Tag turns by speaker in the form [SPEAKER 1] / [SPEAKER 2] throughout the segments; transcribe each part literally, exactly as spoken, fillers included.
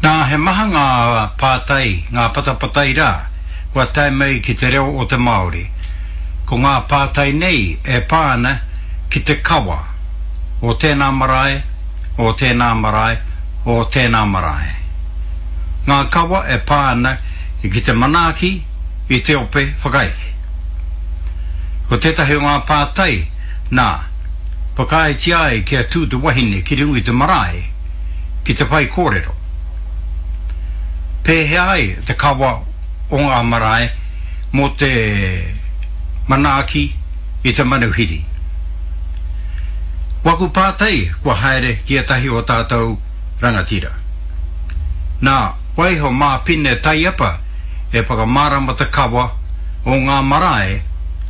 [SPEAKER 1] Nā, he maha ngā pātai, ngā patapatai rā, kua tae mai ki te reo o te Māori. Ko ngā pātai nei e pā ana ki te kawa o tēnā marae, o tēnā marae, o tēnā marae. Ngā kawa e pā ana ki te manaaki i te ope whakaeke. Ko tētahi o ngā pātai, nā, whakaaetia ai kia tū te wahine ki runga i te marae ki te whaikōrero. Pēhea ai te kawa o ngā marae mō te manaaki i te manuhiri? Waku pātai kua haere ki ētahi o tātou rangatira. Nā, waiho mā Pine Taiapa e whakamārama te kawa o ngā marae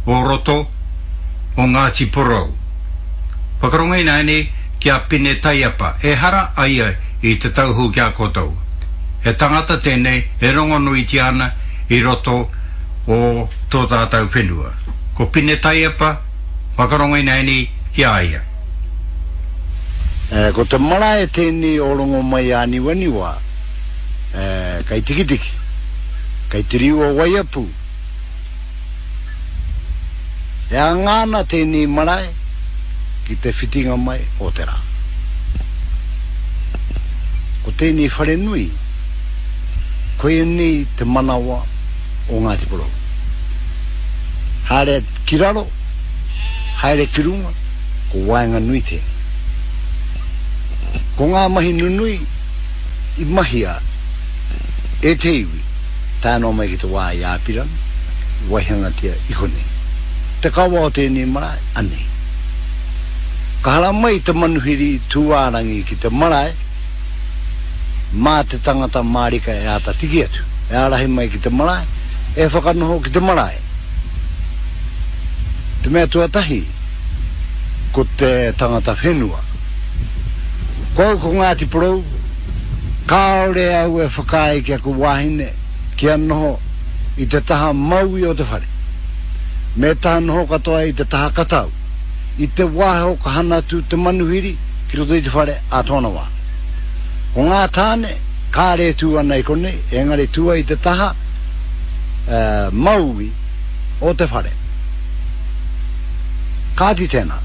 [SPEAKER 1] o roto o Ngāti Porou. Whakarongo ināianei ki a Pine Taiapa, ehara a ia i te tauhou ki a koutou. He tangata tēnei e rongonuitia ana i roto o tō tātou whenua. Ko Pine Taiapa, whakarongo ināianei ki a ia.
[SPEAKER 2] Ko te marae tēnei o Rongomaiāniwaniwa, kei Tikitiki, kei te riu o Waiapu. E anga ana tēnei marae ki te whitinga mai o te rā. Ko tēnei wharenui, koinei te manawa o Ngāti Porou. Haere ki raro, haere ki runga, ko waenganui tēnei. Ko ngā mahi nunui i mahia e te iwi, tae noa mai ki te wā i Āpirana, i waihangatia i konei. Te kawa o tēnei marae, anei. Ka haramai te manuhiri tūārangi ki te marae, mā te tangata mārika e āta tiki atu, e ārahi mai ki te marae, e whakanoho ki te marae. Te mea tuatahi, ko te tangata whenua. Ko au ko Ngāti Porou, kāore au e whakaae ki aku wāhine kia noho i te taha maui o te whare. Me taha noho katoa i te taha katau, i te wāhi o ka hana atu te manuhiri ki roto i te whare ā tōna wā. Ko ngā tāne, kāre e tū ana i konei, engari tū ai i te taha maui o te whare. Kāti tēnā.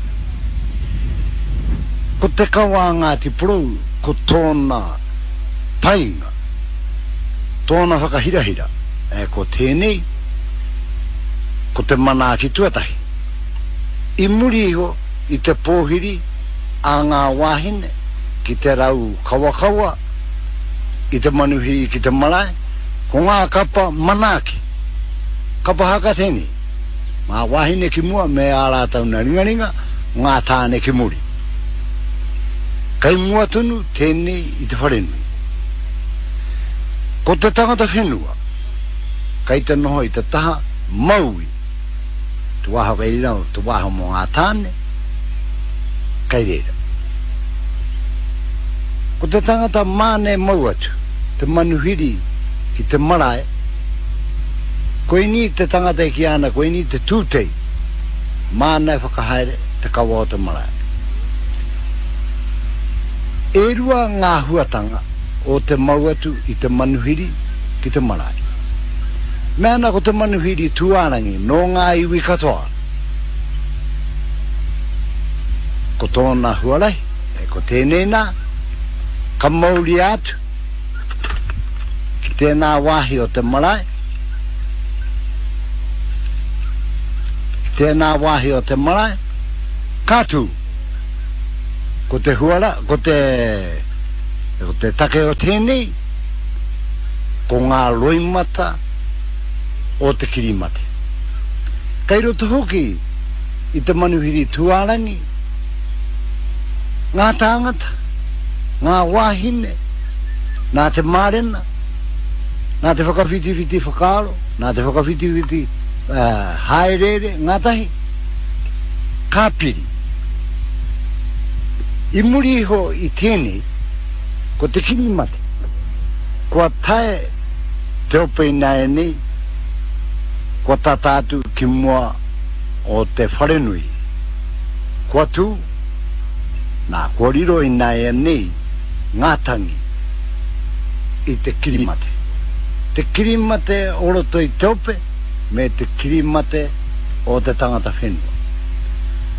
[SPEAKER 2] Ko te kawa a Ngāti Porou, ko tōna painga, tōna whakahirahira, e, ko tēnei, ko te manaaki tuatahi. I muri iho i te pōhiri a ngā wāhine ki te rau kawakawa i te manuhiri ki te marae, ko ngā kapa manaaki, kapa haka tēnei, ngā wāhine ki mua me ā rātou na ringaringa, ngā tāne ki muri. Kei mua tonu tēnei i te wharenui. Ko te tangata whenua, kei te noho i te taha maui, te wāha kei reira, te wāha mō ngā tāne, kei reira. Ko te tangata māne mau atu, te manuhiri ki te marae, koinī te tangata e kīia ana, koinī te tūtei, māna e whakahaere te kawa o te marae. E rua ngā huatanga o te mau atu i te manuhiri ki te marae. Mea ana ko te manuhiri tūārangi nō ngā iwi katoa. Ko tōna huarahi, e ko tēnei nā, ka mauria atu ki tēnā wāhi o te marae, ki tēnā wāhi o te marae, ka tū. Ko te huara, ko te, ko te take o tēnei, ko ngā roimata o te kirimate. Kei roto hoki i te manuhiri tūārangi, ngā tāngata, ngā wāhine, nā te mārena, nā te whakawhitiwhiti whakaaro, nā te whakawhitiwhiti hāereere ngātahi, ka piri. I muri iho i tēnei, ko te kirimate, kua tae te ope ināianei, kua tata atu ki mua o te wharenui. Kua tū, nā, kua riro ināianei ngā tangi i te kirimate. Te kirimate o roto i te ope me te kirimate o te tangata whenua.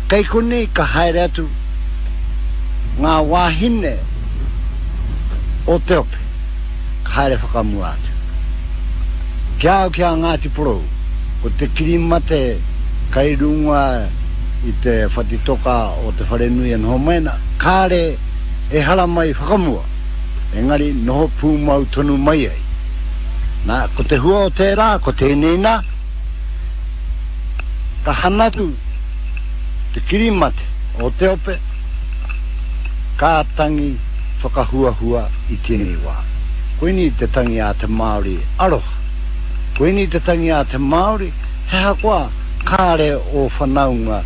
[SPEAKER 2] Kei konei ka haere atu ngā wāhine o te ope, ka haere whakamua atu. Ki a au ki a Ngāti Porou, ko te kirimate kai runga i te whatitoka o te wharenui e noho mai ana, kāre e haramai whakamua, engari noho pūmau tonu mai ai. Nā, ko te hua o tērā, ko tēnei nā, ka hanatu te kirimate o te ope, ka tangi whakahuahua i tēnei wā. Koinei te tangi a te Māori aroha. Koinei te tangi a te Māori, he ahakoa kāre o whanaunga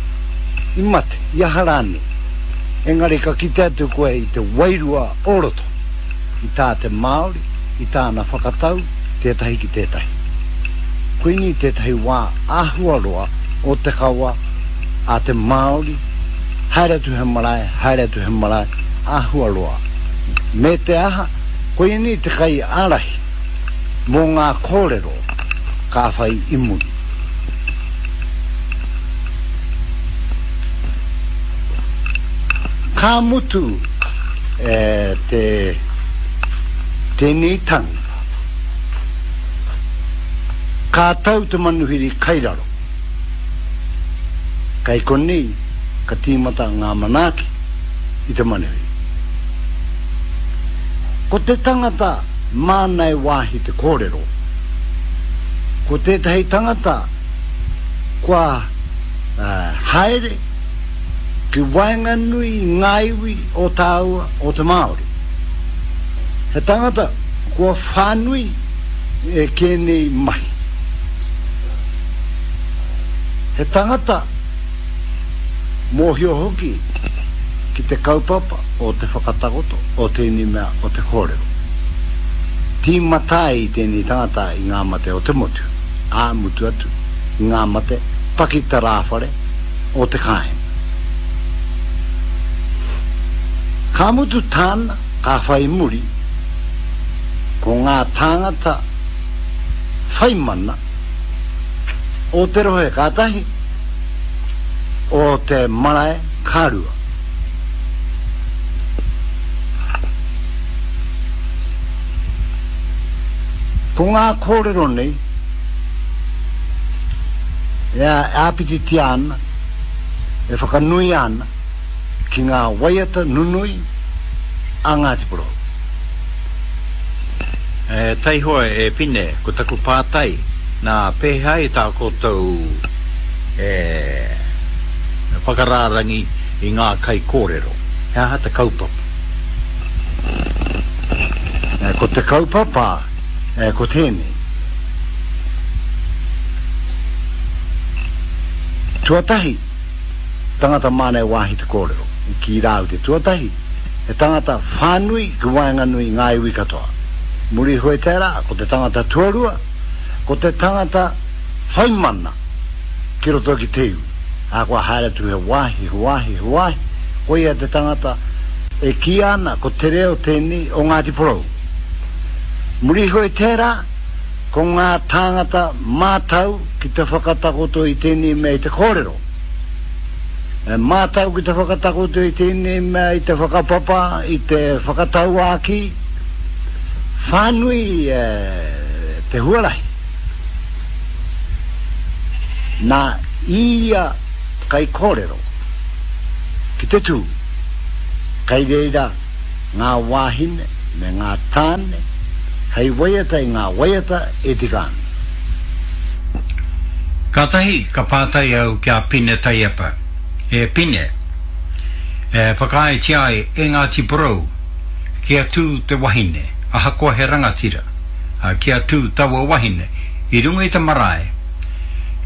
[SPEAKER 2] i mate, i aha rānei. Engari ka kite atu koe i te wairua o roto, i tā te Māori, i tāna whakatau, tētahi ki tētahi. Koinei tētahi wā āhua roa o te kawa a te Māori, haere atu he marae, haere atu he marae, āhua roa. Me te aha, koinei te kai ārahi mō ngā kōrero ka whai i muri. Ka mutu e te tēnei tangi, ka tau te manuhiri kai raro. Kai konei ka tīmata ngā manaaki i te manuhiri. Ko te tangata māna e wāhi te kōrero, ko tētahi tangata kua uh, haere ki waenganui i ngā iwi o tāua o te Māori. He tangata kua whānui e kēnei mahi. He tangata mōhio hoki ki te kaupapa o te whakatakoto o tēnei mea o te kōrero. Tīmata ai tēnei tangata i ngā mate o te motu, ā mutu atu i ngā mate pakitarāwhare o te kāinga. Ka mutu tāna, ka whai muri, ko ngā tāngata whai mana o te rohe ka tahi, o te marae ka rua. Ko ngā kōrero nei, e āpititia ana, e whakanui ana, ki ngā waiata nunui a Ngāti Porou.
[SPEAKER 1] E, taihoa e Pine, ko taku pātai, nā pēhea ai tā koutou e, whakarārangi i ngā kai kōrero. He aha te kaupapa?
[SPEAKER 2] E, ko te kaupapa, e, ko tēnei. Tuatahi, tangata māna e wāhi te kōrero. I ki rāu te tuatahi, he tangata whānui ki waenganui ngā iwi katoa. Muri hoi tērā, ko te tangata tuarua, ko te tangata whai mana ki roto ki te iwi. Ā, kua haere atu he wāhi, he wāhi, he wāhi, koia te tangata e kīia ana ko te reo tēnei o Ngāti Porou. Muri hoi tērā, ko ngā tāngata mātau ki te whakatakoto i tēnei mea i te kōrero. E mātau ki te whakatakoto i tēnei mea i te whakapapa, i te whakatauākī, whānui e, te huarahi. Nā ia kai kōrero ki te tū, kai reira ngā wāhine me ngā tāne, hei waiata i ngā waiata e tika ana.
[SPEAKER 1] Kātahi ka pātai au ki a Pine Taiepa. E Pine, e whakaaetia ai e Ngāti Porou kia tū te wahine, ahakoa he rangatira, a, kia tū taua wahine i runga i te marae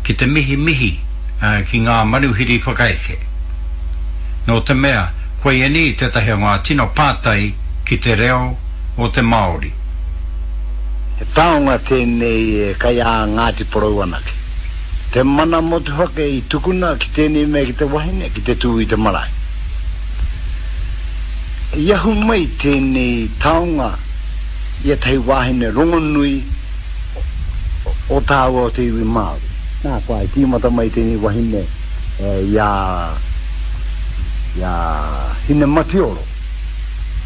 [SPEAKER 1] ki te mihi mihi a, ki ngā manuhiri whakaeke. Nō te mea, koia nei tētahi o ngā tino pātai ki te reo o te Māori.
[SPEAKER 2] He taonga tēnei e kai a Ngāti Porou anake. Te mana motuhake i tukuna ki tēnei mea ki te wahine, ki te tū i te marae. I ahu mai tēnei taonga I ētahi wāhine rongonui o tāua o te iwi Māori. Nā, kua i tīmata mai tēnei wahine i a, i a Hinematioro.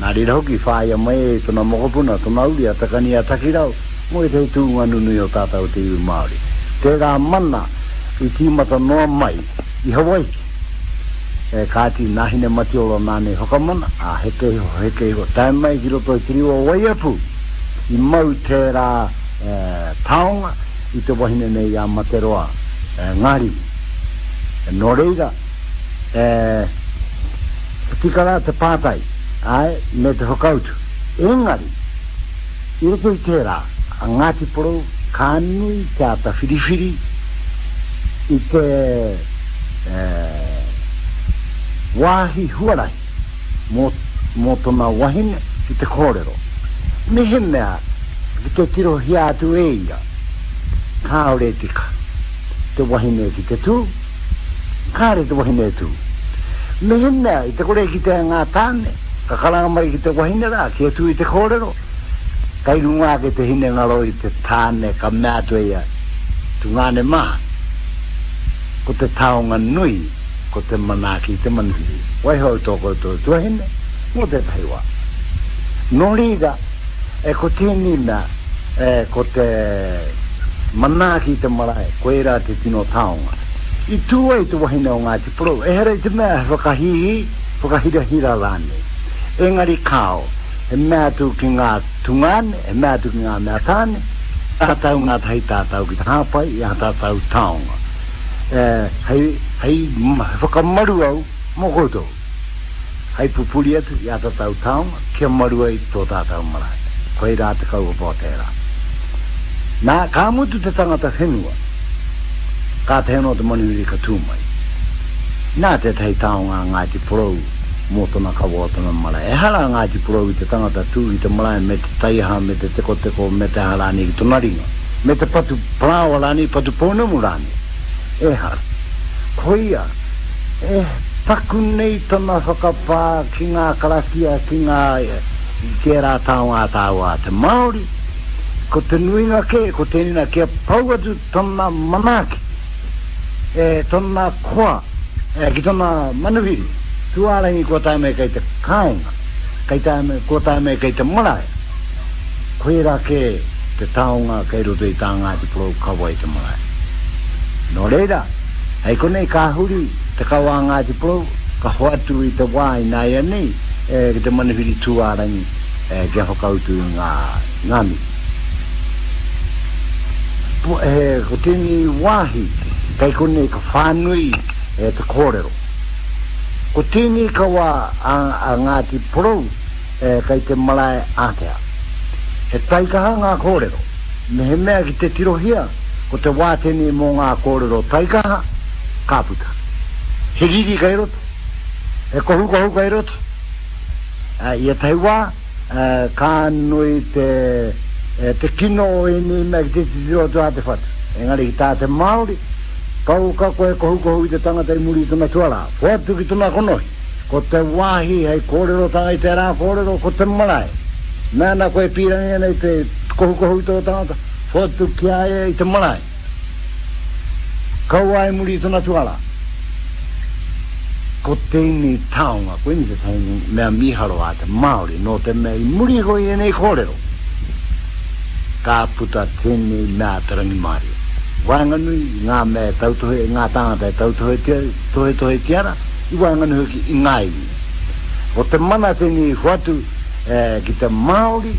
[SPEAKER 2] Nā reira hoki, whāia mai e tōna mokopuna, tōna uri, a Takani a Takirau, mō ētahi tūnga nunui o tātou o te iwi Māori. Tērā mana i tīmata noa mai i Hawaiki. E kāti, nā Hinematioro nāna i whakamana, ā, heke iho, heke iho, tae mai ki roto i te riu o Waiapu, i mau tērā e, taonga i te wahine nei i a Materoa e, Ngārimu. E, nō reira, e, tika rā te pātai, āe, me te whakautu. Engari, i roto i tērā, a Ngāti Porou ka nui te āta whiriwhiri i te e, wāhi huarahi mō, mō tōna wahine ki te kōrero. Mehemea ki te tirohia atu e ia, kāore tika te wahine ki te tū, kāore te wahine e tū. Mehemea i te kore ki te ngā tāne, ka karanga mai ki te wahine rā, kia tū i te kōrero, kai runga ake te hinengaro i te tāne ka mea atu e ia, tungāne mā. Ko te taonga nui, ko te manaaki i te manuhiri. Waiho au tō koutou tuahine, mō tētahi wā. Nō reira, e ko tēnei mea, e ko te manaaki i te marae, koirā te tino taonga. I tū ai te wahine o Ngāti Porou, ehara i te mea he whakahīhī, whakahirahira rānei. Engari kāo, he mea atu ki ngā tungāne, he mea atu ki ngā mea tāne, tātou ngātahi tātou ki te hāpai i ā tātou taonga. E, hei, hei whakamaru au mō koutou. Hei pupuri atu i ā tātou taonga, kia maru ai tō tātou marae. Koirā te kaupapa o tērā. Nā, ka mutu te tangata whenua, kātahi anō te manuhiri ka tū mai. Nā tētahi taonga a Ngāti Porou mō tōna kawa o tōna marae. Ehara a Ngāti Porou i te tangata tū i te marae me te taiaha, me te tekoteko, me te aha rānei ki tōna ringa, me te patu parāoa rānei, patu pounamu rānei. Ehara. Koia, e paku nei tana whakapā ki ngā karakia, ki ngā, ki ērā taonga a tāua a te Māori, ko te nuinga kē, ko tēnei nā, kia pau atu tana manaaki, e tona koa, e ki tona manuhiri, tūārangi kua tae mai kei te kāinga, kei tae mai, kua tae mai kei te marae. Koirā kē te taonga kei roto i tā Ngāti Porou kawa i te marae. Nō reira, hei konei ka huri te kawa a Ngāti Porou, ka hoatu i te wā ināianei e, ki te manuhiri tūārangi e, kia whakautu i ngā, ngā mihi. E, ko tēnei wāhi, kei konei ka whānui e te kōrero. Ko tēnei kawa a, a Ngāti Porou e, kei te marae ātea. He taikaha ngā kōrero. Mehemea ki te tirohia, ko te wā tēnei mō ngā kōrero taikaha, ka puta. He riri kei roto, he kohukohu kei roto. E, i ētahi wā, e, ka nui te, e, te kino o ēnei mea ki te titiro atu a te whatu. Engari ki tā te Māori, kauka koe kohukohu i te tangata i muri i tōna tuarā, hoatu ki tōna konohi. Ko te wāhi hei kōrerotanga i tērā kōrero, ko te marae. Mēnā koe pīrangi ana i te kohukohu i tō tangata, hoatu ki a ia i te marae. Kaua i muri i tōna tuarā. Ko tēnei taonga, koinei tētahi mea mīharo a te Māori, nō te mea i muri iho i ēnei kōrero, ka puta tēnei mea te rangimārie. Waenganui i ngā mea e tautohe, i ngā tāngata e tautohetia, tohetohetia ana, i waenganui hoki i ngā iwi. Ko te mana tēnei i hoatu e, ki te Māori,